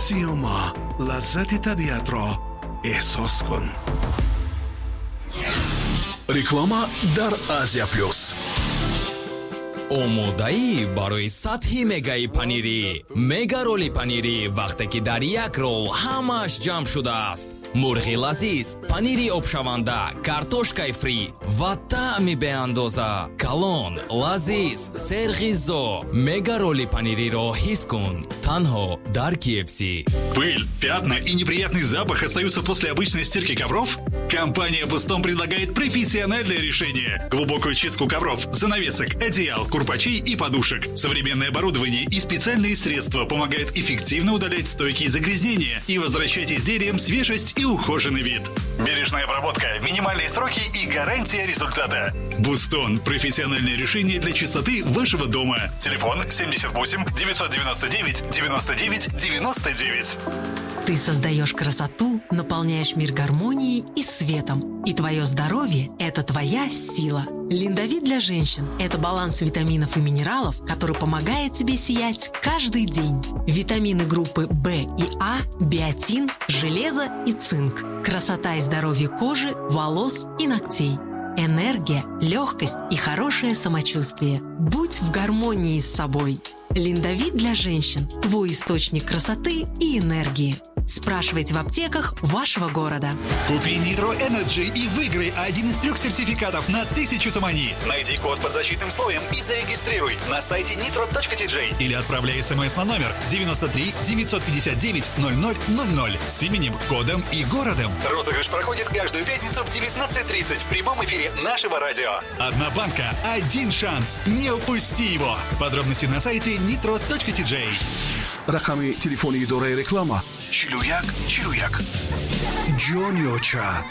Сиёма, лаззати табиатро эҳсос кун. Реклама дар Азия Плюс. Омодаӣ барои сатҳи мегаи панирӣ? Мега роли панирӣ, вақте ки дар як рол ҳамааш ҷамъ шудааст: мурғи лазиз, панири обшаванда, картошкаи фри ва таъми беандоза. Калон, лазиз, серғизо. Мега роли панириро ҳис кун танҳо дар KFC. Пыль, пятна и неприятный запах остаются после обычной стирки ковров? Компания «Бустон» предлагает профессиональное решение. Глубокую чистку ковров, занавесок, одеял, курпачей и подушек. Современное оборудование и специальные средства помогают эффективно удалять стойкие загрязнения и возвращать изделиям свежесть и ухоженный вид. Бережная обработка, минимальные сроки и гарантия результата. «Бустон» – профессиональное решение для чистоты вашего дома. Телефон 78 999 99 99. Ты создаешь красоту, наполняешь мир гармонией и светом. И твое здоровье – это твоя сила. Линдовит для женщин – это баланс витаминов и минералов, который помогает тебе сиять каждый день. Витамины группы В и А, биотин, железо и цинк. Красота и здоровье кожи, волос и ногтей. Энергия, легкость и хорошее самочувствие. Будь в гармонии с собой. Линдовит для женщин – твой источник красоты и энергии. Спрашивайте в аптеках вашего города. Купи Nitro Energy и выиграй один из трех сертификатов на 1000 сомони. Найди код под защитным слоем и зарегистрируй на сайте nitro.tj или отправляй смс на номер 93 959 0000 с именем, кодом и городом. Розыгрыш проходит каждую пятницу в 19:30 в прямом эфире нашего радио. Одна банка, один шанс. Не упусти его. Подробности на сайте nitro.tj. Рақами телефони идораи реклама 41 41. Ҷониоча,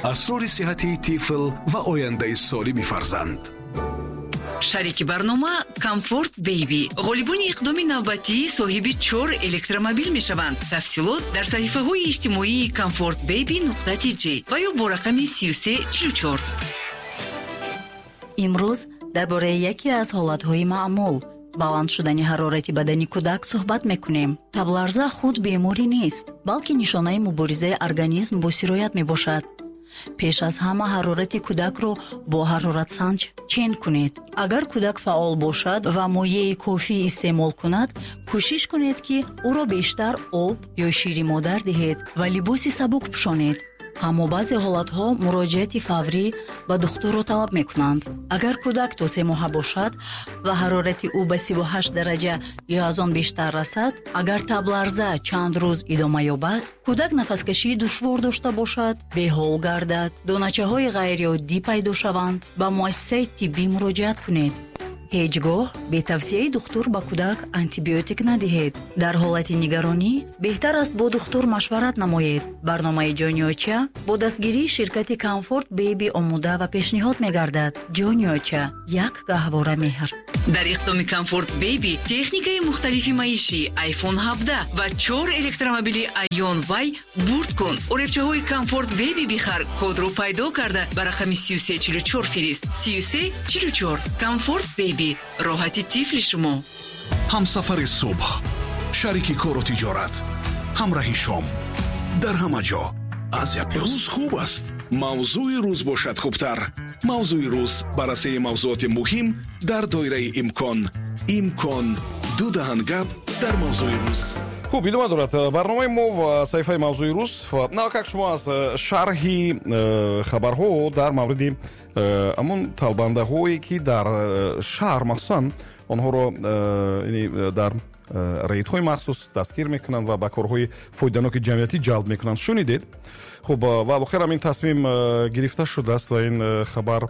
асрори сиҳати тифл ва ояндаи солими фарзанд. Шарики барнома «Комфорт Бейби». Ғолибони иқдоми навбатӣ соҳиби чор электромобил мешаванд. Тафсилот дар саҳифаҳои иҷтимоии Комфорт Бейби.тj ва ё бо рақами 3344. Имрӯз дар бораи яке аз ҳолатҳои маъмул, баланд шудани ҳарорати бадани кӯдак, суҳбат мекунем. Табларза худ беморӣ нест, балки нишонаи муборизаи организм бо сироят мебошад. Пеш аз ҳама ҳарорати кӯдакро бо ҳароратсанҷ чен кунед. Агар кӯдак фаъол бошад ва моеи кофӣ истеъмол кунад, кӯшиш кунед, ки ӯро бештар об ё шири модар диҳед ва либоси сабук пӯшонед. Аммо баъзе ҳолатҳо муроҷиати фаврӣ ба духтурро талаб мекунанд. Агар кӯдак то 3 моҳа бошад ва ҳарорати ӯ ба 38 дараҷа ё аз он бештар расад, агар табларза чанд рӯз идома ёбад, кӯдак нафаскашии душвор дошта бошад, беҳол гардад, доначаҳои ғайриоддӣ пайдо шаванд, ба муассисаи тиббӣ муроҷиат кунед. Ҳеҷ гоҳ бе тавсияи духтур ба кӯдак антибиотик надиҳед. Дар ҳолати нигаронӣ беҳтар аст бо духтур машварат намоед. Барномаи «Ҷониоча» бо дастгирии ширкати «Комфорт Бейби» омода ва пешниҳод мегардад. «Ҷониоча», як гаҳвора меҳр. Дар иқдоми «Комфорт Бейби» техникаи мухталифи маишӣ, iPhone 17 ва чор электромобили Aion Y бурд кун. Оребчаҳои «Комфорт Бейби» бихар, кодро пайдо карда, ба рақами 3344 фирист. 3344. «Комфорт Бейби», роҳати тифли шумо. Ҳамсафари субҳ, шарики кору тиҷорат, ҳамраҳи шом, дар ҳама ҷо Азия Плюс. Рӯз хуб аст, мавзӯи рӯз бошад хубтар. Мавзӯи рӯз: баррасии мавзӯоти муҳим дар доираи имкон. Имкон ду даҳан гап дар мавзӯи рӯз. Хуб, идома дорад барномаи мо ва саҳифаи мавзӯи рӯз. Навакак шумо аз шарҳи хабарҳо дар мавриди ҳамон талбандаҳое, ки дар шаҳр, махсусан онҳоро дар рейдҳои махсус дастгир мекунанд ва ба корҳои фоиданоки ҷамъиятӣ ҷалб мекунанд, шунидед. Хуб, ва охирам ин тасмим гирифта шудааст ва ин хабар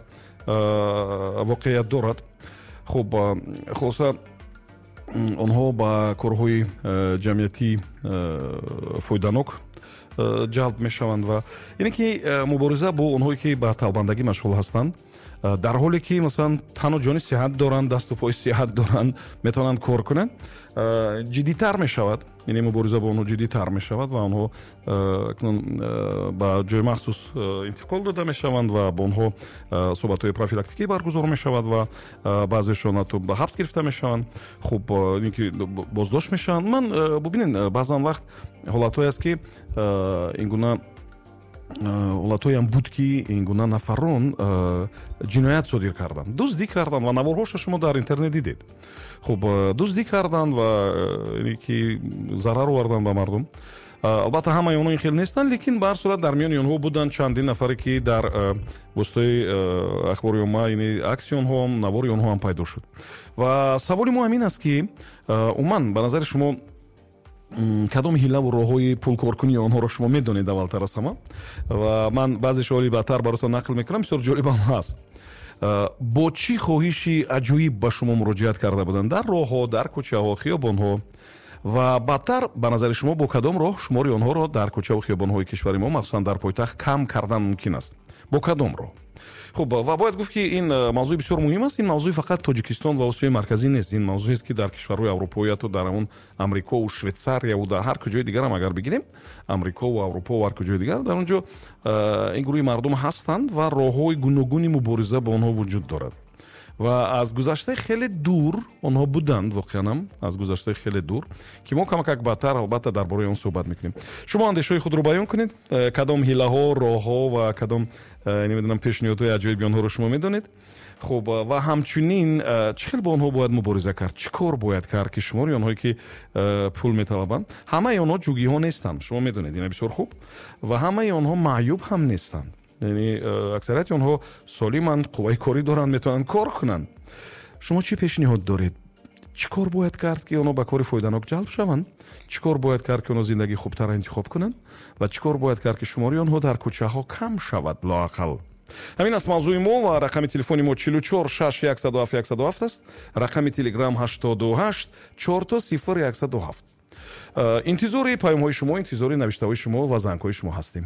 воқеият дорад. Хуб, хулоса, онҳо ба корҳои ҷамъиятӣ фоиданок ҷалб мешаванд ва ине ки мубориза бо онҳое, ки ба талбандагӣ машғул ҳастанд. Дар ҳоле ки, масалан, тану ҷони сиҳат доранд, дасту пои сиҳат доранд, метавонанд кор кунанд. Ҷиддитар мешавад, яъне мубориза бо онҳо ҷиддитар мешавад ва онҳо акнун ба ҷои махсус интиқол дода мешаванд ва бо онҳо суҳбатҳои профилактикӣ баргузор мешавад ва баъзешон ҳатто ба ҳабс гирифта мешаванд, хуб, ин ки боздошт мешаванд. Ман, бубинед, баъзан вақт ҳолатҳое аст, ки ин гуна ҳолатҳоеам буд, ки ин гуна нафарон ҷиноят содир карданд, дуздӣ карданд ва наворҳоша шумо дар интернет дидед. Хуб, дуздӣ карданд ва ки зарар оварданд ба мардум. Албатта, ҳамаи онҳо ин хел нестанд, лекин ба ҳар сурат дар миёни онҳо буданд чандин нафаре, ки дар воситаи ахбори омма, яъне акси онҳоам, навори онҳо ҳам пайдо шуд. Ва саволи мо ҳамин аст, ки умуман, ба назари шумо, кадом ҳилаву роҳҳои пулкоркунии онҳоро шумо медонед аввалтар аз ҳама? Ва ман баъзе шоли баъдтар баротон нақл мекунам, бисёр ҷолибам ҳаст. Бо чӣ хоҳиши аҷоиб ба шумо муроҷиат карда буданд дар роҳҳо, дар кӯчаҳо, хиёбонҳо? Ва баъдтар, ба назари шумо, бо кадом роҳ шумори онҳоро дар кӯчаву хиёбонҳои кишвари мо, махсусан дар пойтахт, кам кардан мумкин аст? Бо кадом роҳ? Хуб, ва бояд гуфт, ки ин мавзӯи бисёр муҳим аст. Ин мавзӯи фақат Тоҷикистон ва Осиёи Марказӣ нест, ин мавзӯест, ки дар кишварҳои аврупоӣ, ҳатто дар ҳамон Амрикову Швейтсарияву дар ҳар куҷои дигарам агар бигирем, Амрикову Аврупову ҳар куҷои дигар, дар он ҷо ин гурӯҳи мардум ҳастанд ва роҳҳои гуногуни мубориза бо онҳо вуҷуд дорад. Ва аз гузаштаи хеле дур онҳо буданд, воқеанам аз гузаштаи хеле дур, ки мо камакак баъдтар, албатта, дар бораи он суҳбат мекунем. Шумо андешаҳои худро баён кунед. Кадом ҳилаҳо, роҳҳо ва кадом, намедонам, пешниҳодҳои аҷоиби онҳоро шумо медонед? Хуб, ва ҳамчунин чӣ хел бо онҳо бояд мубориза кард, чӣ кор бояд кард, ки шумори онҳое, ки пул металабанд, ҳамаи онҳо ҷугиҳо нестанд, шумо медонед ина бисёр хуб, ва ҳамаи онҳо маъюб ҳам нестанд, яъне аксарияти онҳо солиманд, қувваи корӣ доранд, метавонанд кор кунанд. Шумо чӣ пешниҳод доред? Чӣ кор бояд кард, ки онҳо ба кори фоиданок ҷалб шаванд? Чӣ кор бояд кард, ки онҳо зиндагии хубтарро интихоб кунанд? Ва чӣ кор бояд кард, ки шумори онҳо дар кӯчаҳо кам шавад лоақал? Ҳамин аст мавзӯи мо ва рақами телефони мо 44 6 107 107 аст, рақами Телеграм 88 4 0 107. Интизори паёмҳои шумо, интизори навиштаҳои шумо ва зангҳои шумо ҳастем.